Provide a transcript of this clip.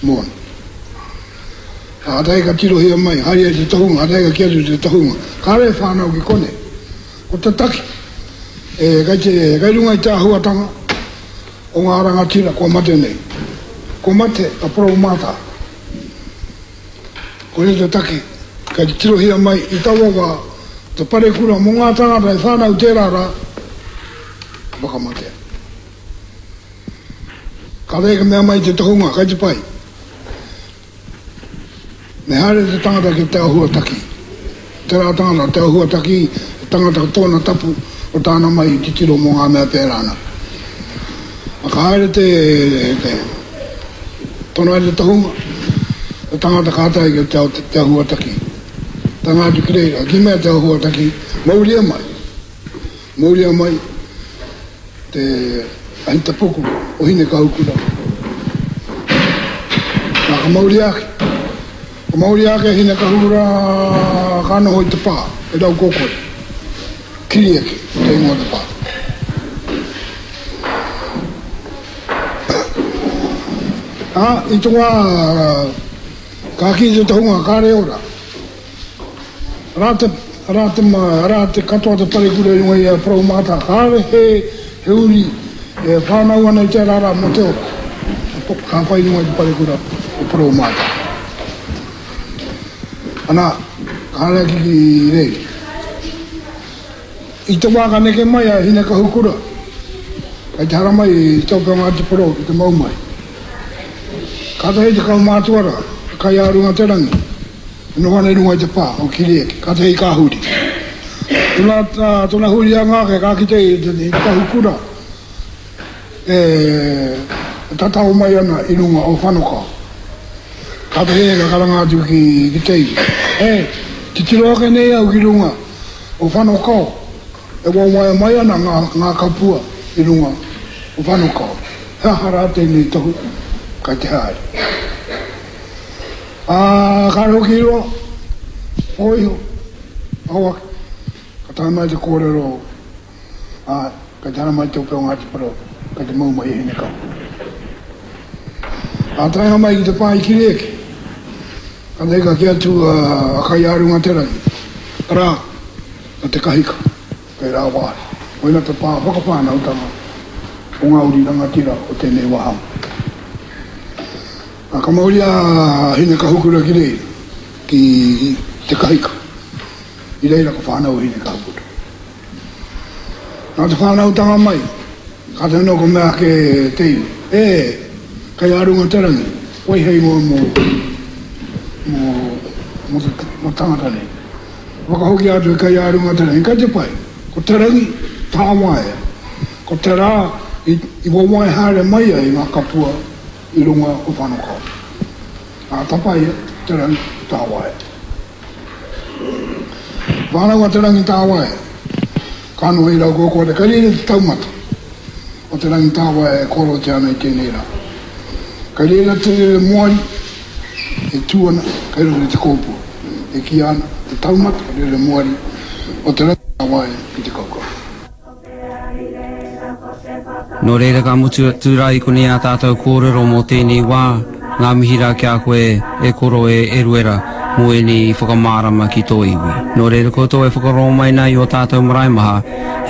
Moana. Kātahi ka tirohia mai, haere ai te tohunga, kātahi ka kī atu te tohunga, kāre e whānau ki konei. Ko te taki, e, kei te, kei runga i te āhuatanga o ngā rangatira kua mate nei. Kua mate a Poroumātā. Koia te take, kei te tirohia mai i taua wā te parekura mō ngā tāngata e whānau tērā rā, ka whakamatea. Ka reka mea mai te tohunga, kai te pai. Me haere te tangata ki te ahuataki. Tērā tangata, te ahuataki, te tangata ko tōna tapu, ko tāna mahi titiro mō ngā mea pērā ana. A ka haere te, te, tono ai te tohunga, te tangata ka tae ki te, te ahuataki. Tanga atu ki reira, ki mea te ahuataki, mauria mai. Mauria mai te ahitapuku o Hinekahukura. Nā, ka mauria ake. Ka mauria ake a Hinekahukura ka noho i te pā, e Raukokore. Kirieke, te ingoa o te pā. Ā, i te wā ka kī te tohunga kāre ora. Arā te, arā te, arā te katoa te parekura i runga i a Poroumātā, kāore he, he uri e whānau ana i tērā rā mō te ora. Ka whai i runga i te parekura o Poroumātā. Ana, ka haere ake ki reira. I te wā ka neke mai a Hinekahukura, kei te haramai i te ope o Ngāti Porou ki te mau mai. Kātahi te kaumātua rā, a Kaiārunga-te-rangi, E noho ana i runga i te pā o Kirieke, kātahi ka huri. Tona, tona hurianga ake ka kite i te kahukura e tatao mai ana i runga o Whanokao. Kātahi e ka karanga atu ki, ki te iwi, E, titiro ake nei au ki runga o Whanokao, e wawae mai ana ngā, ngā kapua i runga o Whanokao. He aha rā tēnei tohu kai te haere? Ā, kāre hoki i roa, pō iho, ao ake, ka tae mai te kōrero, ā, kei te haramai te ope o Ngāti Porou, kei te mau mai e Hinekawa. Ā, taenga mai ki te pā i Kirieke, ka nei ka kī atu a Kaiārungaterangi, arā, a Te Kahika, kei rāwāhi. Koina te pā whakawhānautanga o ngā uri rangatira o tēnei wāhanga. Ā, ka mauria a Hinekahukura ki reira, ki Te Kahika. I reira ka whānau a Hinekahukura. Nā te whānautanga mai, kātahi anō ka mea ake te iwi, E, kei a runga te rangi, wai hei ingoa mō, mō, mō te, mō tangata nei. Whakahokia atu e kei a runga te rangi, kei te pai, ko te rangi tāwaea, ko te rā i, i wawae haere mai ai ngā kapua i runga o Whanokao. Ā, tapaia te rangi tāwae. Whānau a te rangi tāwae, ka noho i Raukōkore, kei reira te taumata o te rangi tāwae e kōrerotia ana i tēnei rā. Kei reira te rere moari e tū ana kei roto i te kōpua, e kīia ana te taumata rere moari o te rangi tāwae ki te kaukau. Nō reira ka mutu atu rā i konei ā tātou kōrero mō tēnei wā, ngā mihi rā ki a koe e koro e Eruera mō ēnei whakamārama ki tō iwi. Nō reira koutou e whakarongo mai nā i ō tātou marae maha, hei.